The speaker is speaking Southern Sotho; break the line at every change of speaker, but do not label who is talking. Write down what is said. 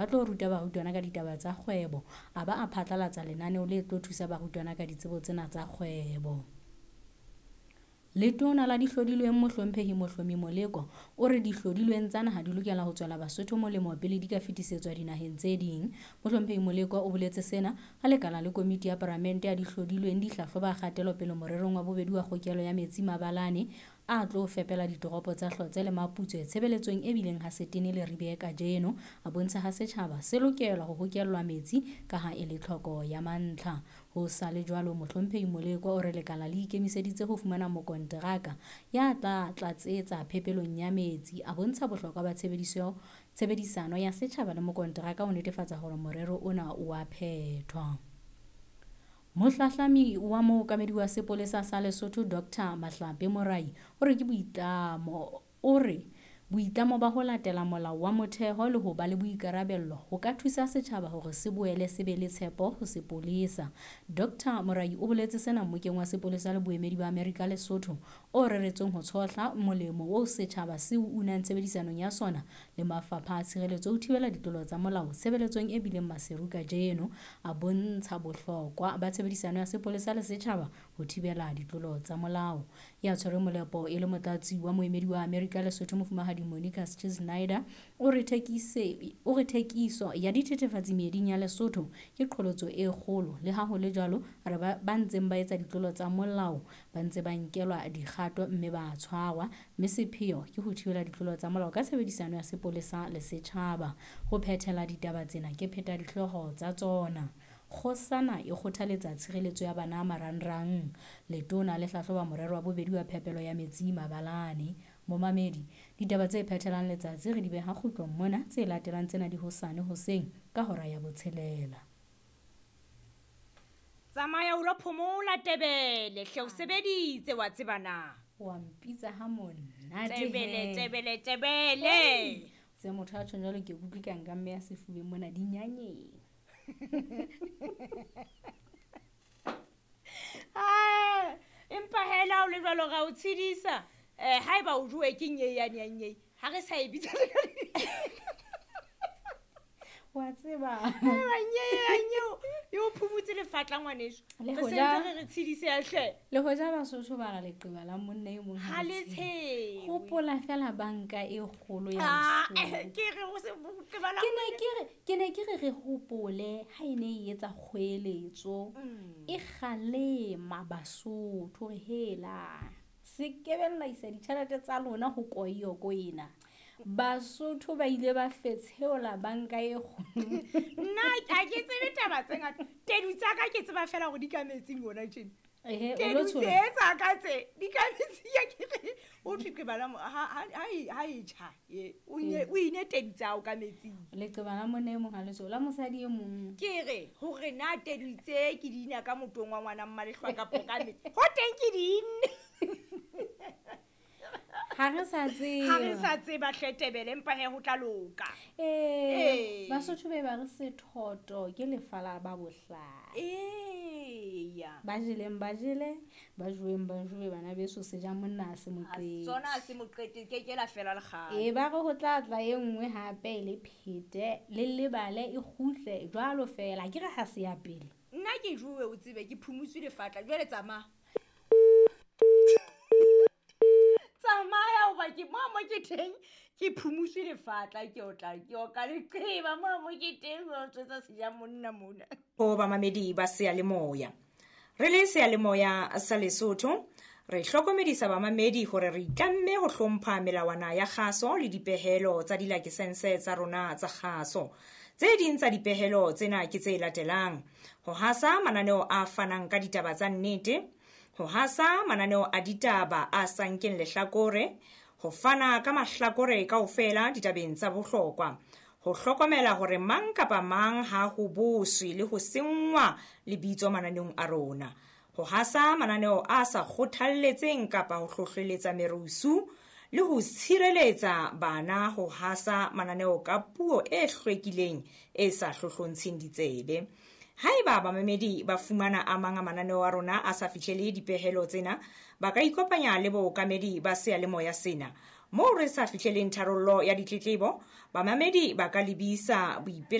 Ba tlo ruta barutwana ka ditaba tsa kgwebo, a ba a phatlalatsa lenaneo le tlo thusa barutwana ka ditsebo tsena tsa kgwebo. Letona la dihlodilweng Mohlomphehi Mohlomi Moleko o re dihlodilweng tsa naha di lokela ho tswela Basotho molemo pele di ka fetisetswa dinaheng tse ding. Mohlomphehi Moleko o boletse sena ha lekala le komiti ya paramente ya dihlodilweng di hlahloba kgatelopele morerong wa bobedi wa kgokelo ya metsi mabalane a tlo fepela ditoropo tsa Hlotse le Maputswe tshebeletsong e bileng ha setene le ribe kajeno. A bontsha ha setjhaba se lokelwa ho hokellwa metsi ka ha e le tlhoko ya mantlha. Ho sa le jwalo, Mohlomphehi Moleko o re lekala le ikemiseditse ho fumana mokonteraka ya tla tlatsetsa phepelong ya metsi. A bontsha bohlokwa ba tshebedisano ya setjhaba le mokonteraka ho netefatsa hore morero ona o a phethwa. Mohlahlami wa mookamedi wa sepolesa sa Lesotho Dr. Mahlape Morai o re ke boitlamo o re boitlamo ba ho latela molao wa motheho le ho ba le boikarabello ho ka thusa setjhaba hore se boele se be le tshepo ho sepolesa. Dr. Morai o boletse sena mmokeng wa sepolesa le boemedi ba Amerika Lesotho o reretsweng ho tshohla molemo oo setjhaba se o unang tshebedisanong ya sona le mafapha a tshireletso ho thibela ditlolo tsa molao tshebeletsong e bileng Maseru kajeno. A bontsha bohlokwa ba tshebedisano ya sepolesa le setjhaba ho thibela ditlolo tsa molao. Ya tshwereng molepo e le motlatsi wa moemedi wa Amerika Lesotho Mofumahadi Monica Snyder o re thekiso ya dithethefatsi meeding ya Lesotho ke qholotso e kgolo. Le ha ho le jwalo, re ba ntseng ba etsa ditlolo tsa molao ba ntse ba nkelwa dikgato mme ba tshwarwa, mme sepheo ke ho thibela ditlolo tsa molao ka tshebedisano ya sepolesa le setjhaba. Ho phethela ditaba tsena ke pheta dihlooho tsa tsona. Kgosana e kgothaletsa tshireletso ya bana marangrang. Letona le hlahloba morero wa bobedi wa phepelo ya metsi mabalane. Momamedi, ditaba tse phethelang letsatsi re di beha kgutlong mona, tse latelang tsena di hosane hoseng ka hora ya 6.
Tsamaya o lo phomola Tebele, hle o sebeditse wa tseba na.
Wa mpitsa ha monate.
Tebele, Tebele, Tebele.
Se motho a tjho jwalo ke utlwe ka nka mme ya sefubeng mona dinyanyeng.
Ah, empa hela o le jwalo ra o tshedisa. Haeba o jowe ke nyei ya nyei, ha re sa e bitsa le ka
wa tseba.
Nyei yo phumutse lefatla ngwaneso. Re sentse re tshedise ya hle.
Le hoja Basotho ba re leqeba la monna e mong
ha le tshewe.
Hopola fela banka e kgolo ya Lesotho.
Ke re o se leqeba la
Ke ne ke re re hopole ha e ne e etsa kgoeletso e kgalema Basotho re hela. Se kebella isa ditjhelete tsa lona ho koyoko ena. Basotho ba ile ba fetsheola banka e kgolo.
Nna ha ke tsebe taba tse ngata. Tedu tsa ka ke tseba fela hore di ka metsing hona tjena.
Ehe, o
Tedu
lo tshola.
tse tsa ka tse di ka metsing ya ke re o thwe ke bala ha e tjha. O nye o ine tedu tsa o ka metsing.
Leqeba la monna e mong ha le tshola mosadi e mong.
Ke re hore na tedu tse ke di ina ka motong wa ngwana Mmalehlwa kapa ka metsi. Ho teng ke di inne.
Ha re sa tseba.
Ha re sa tseba hle Tebele, empa he ho tla loka.
Basotho be ba re sethoto ke lefa la ba bohlale.
Eya.
Ba jeleng ba jele, ba joweng ba jowe, bana beso se ja monna a se moqete.
Sona a se moqete, ke ke la fela le kgale.
Ba re ho tla tla e nngwe hape e le phete, le lebale e kgutle jwalo fela. Ke re ha se ya pele.
Nna ke jowe o tsebe ke phumutswe lefatla, jwale tsamaya. Tsamaya hoba ke mo mo ke teng, ke phumutswe lefatla, ke otla, ke oka leqeba mo mo ke teng, ho tswetsa seja monna mona.
Ho bamamedi ba seyalemoya. Re le seyalemoya sa Lesotho, re hlokomedisa bamamedi hore re itlamme ho hlompha melawana ya kgaso le dipehelo tsa dilakesense tsa rona tsa kgaso. Tse ding tsa dipehelo tsena ke tse latelang: ho hasa mananeo a fanang ka ditaba tsa nnete, ho hasa mananeo a ditaba a sa nkeng lehlakore, ho fana ka mahlakore kaofela ditabeng tsa bohlokwa, ho hlokomela hore mang kapa mang ha ho boswe le ho senngwa lebitso mananeong a rona, ho hasa mananeo a sa kgothalletseng kapa ho hlohleletsa merusu, le ho tshireletsa bana ho hasa mananeo ka puo e hlwekileng e sa hlohlontsheng ditsebe. Haeba bamamedi ba fumana a mang a mananeo a rona a sa fihlele dipehelo tsena, ba ka ikopanya le bookamedi ba seyalemoya sena Moo re sa fihleleng tharollo ya ditletlebo, bamamedi ba ka lebisa boipelaetso